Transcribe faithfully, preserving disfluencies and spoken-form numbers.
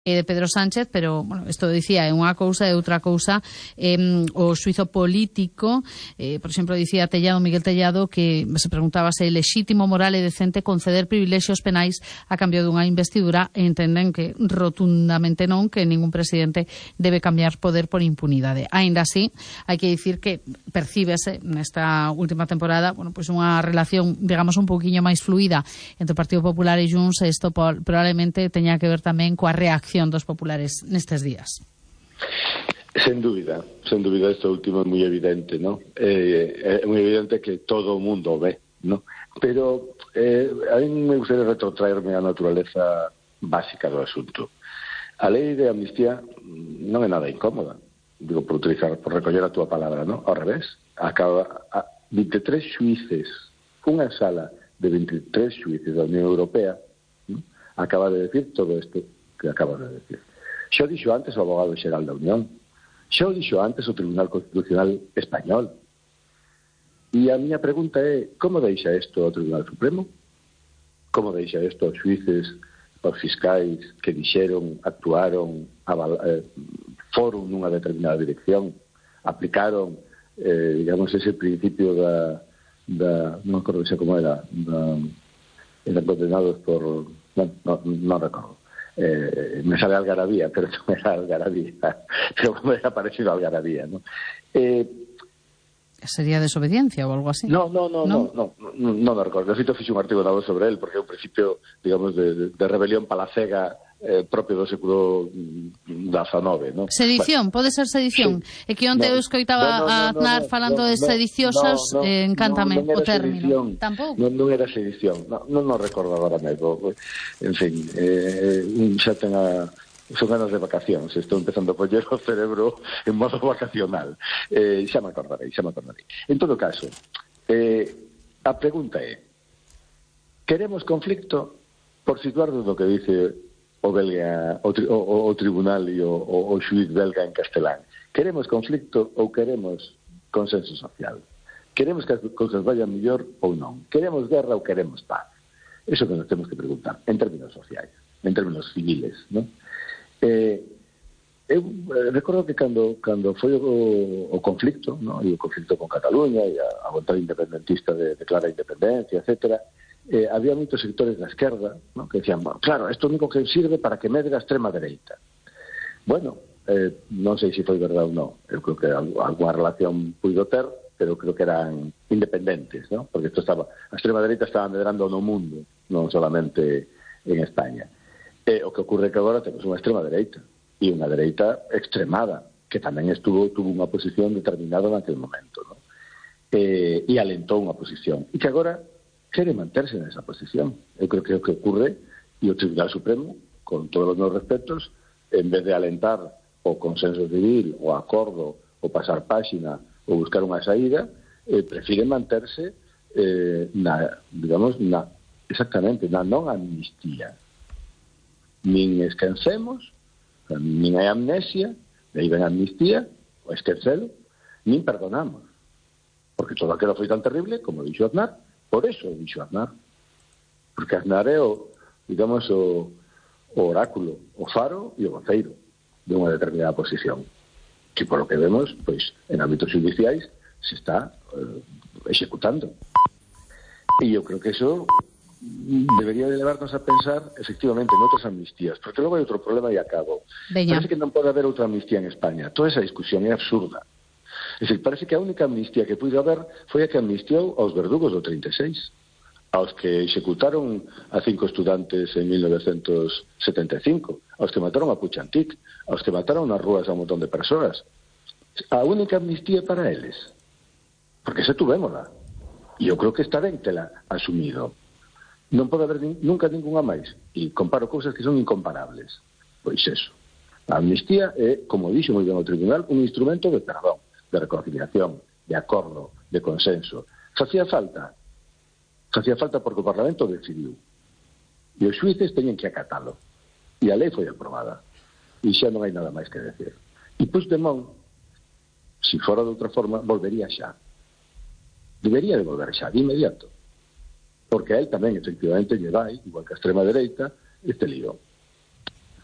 de Pedro Sánchez, pero, bueno, isto dicía é unha cousa e outra cousa eh, o xuizo político. Eh, por exemplo, dicía Tellado, Miguel Tellado, que se preguntaba se é lexítimo, moral e decente conceder privilexios penais a cambio dunha investidura, e entenden que rotundamente non, que ningún presidente debe cambiar poder por impunidade. Aínda así, hai que dicir que percíbese nesta última temporada, bueno, pois unha relación, digamos, un pouquiño máis fluida entre o Partido Popular e Junts, e isto probablemente teña que ver tamén coa reacción dos populares nestes días. Sen dúbida, sen dúbida, isto último é moi evidente, ¿no? Eh, é moi evidente que todo o mundo ve, ¿no? Pero eh, a mí me gustaría retrotraerme á naturaleza básica do asunto. A lei de amnistía non é nada incómoda, digo, por utilizar, por recoller a túa palabra, ¿no? Ao revés, acaba a vinte e tres xuíces, unha sala de vinte e tres xuíces da Unión Europea, ¿no? Acaba de decir todo isto que acabas de decir. Xa o dixo antes o abogado xeral da Unión, xa o dixo antes o Tribunal Constitucional Español. E a miña pregunta é, como deixa isto ao Tribunal Supremo? Como deixa isto aos xuíces, aos fiscais que dixeron, actuaron, aval, eh, foron nunha determinada dirección, aplicaron, eh, digamos, ese principio da, da non recordo xa como era, da, eran condenados por... non, non, non recordo. Eh, me sale algarabía, pero non era algarabía, pero me era parecido a algarabía, ¿no? Eh, ¿Sería desobediencia ou algo así? No, no, no, no, no, no, no, no me recordo. De feito, fixe un artigo dado sobre él, porque é un principio, digamos, de, de rebelión palacega eh, propio do século diecinueve, ¿no? Sedición, bueno, pode ser sedición. É que onte no, eu escoitaba no, no, no, a Aznar no, falando no, de sediciosas, no, no, eh, encántame no, no o término. Sedición, tampouco? Non, non era sedición, non no, no recordo agora mesmo. En fin, eh, xa ten a... son ganas de vacacións, estou empezando a poñer o cerebro en modo vacacional. Eh, xa me acordarei, xa me acordarei. En todo caso, eh, a pregunta é, queremos conflicto por situarnos do que dice o belga, o, o, o tribunal e o, o, o xuiz belga en castelán? Queremos conflicto ou queremos consenso social? Queremos que as cousas vayan mellor ou non? Queremos guerra ou queremos paz? Eso que nos temos que preguntar, en términos sociais, en términos civiles, non? Eh, eu eh, recordo que cando, cando foi o, o conflicto, ¿no? E o conflicto con Cataluña e a, a vontade independentista de declarar independencia, etcétera, eh, había moitos sectores da esquerda, ¿no? Que decían, bueno, claro, isto único que sirve para que medre a extrema dereita. Bueno, eh, non sei se foi verdade ou non, eu creo que alguna relación puido ter, pero creo que eran independentes, ¿no? Porque isto estaba, a extrema dereita estaba medrando no mundo, non solamente en España. Eh, o que ocurre que agora temos unha extrema dereita e unha dereita extremada que tamén estuvo tuvo unha posición determinada naquele momento, ¿no? Eh, e alentou unha posición e que agora quere manterse nesa posición. Eu creo que o que ocurre e o Tribunal Supremo, con todos os meus respetos, en vez de alentar o consenso civil, o acordo, o pasar páxina, ou buscar unha saída, eh, prefire manterse eh, na, digamos, na, exactamente, na non amnistía. Nin esquecemos, nin hai amnesia, de aí ven amnistía, o esquecelo, nin perdonamos. Porque todo aquilo foi tan terrible, como dixo Aznar, por eso dixo Aznar. Porque Aznar é o, digamos, o, o oráculo, o faro e o voceiro de unha determinada posición. Que por lo que vemos, pois, en ámbitos judiciais se está eh, executando. E eu creo que eso debería de levarnos a pensar efectivamente en outras amnistías, porque logo hai outro problema e acabo. Veña. Parece que non pode haber outra amnistía en España. Toda esa discusión é absurda. É dicir, parece que a única amnistía que puido haber foi a que amnistiou aos verdugos do trinta e seis, aos que executaron a cinco estudantes en mil novecentos setenta e cinco, aos que mataron a Puchantik, aos que mataron nas rúas a un montón de persoas. A única amnistía para eles, porque se tuvémola, e eu creo que está ben tela asumido. Non pode haber nin, nunca ninguna máis. E comparo cousas que son incomparables. Pois eso. A amnistía é, como dixo moi ben o tribunal, un instrumento de perdón, de reconciliación, de acordo, de consenso. Facía falta. Facía falta porque o Parlamento decidiu. E os xuíces teñen que acatalo. E a lei foi aprobada. E xa non hai nada máis que decir. E Puigdemont, se fora de outra forma, volvería xa. Debería de volver xa, de inmediato. Porque a él tamén, efectivamente, lle vai, igual que a extrema dereita, este lío.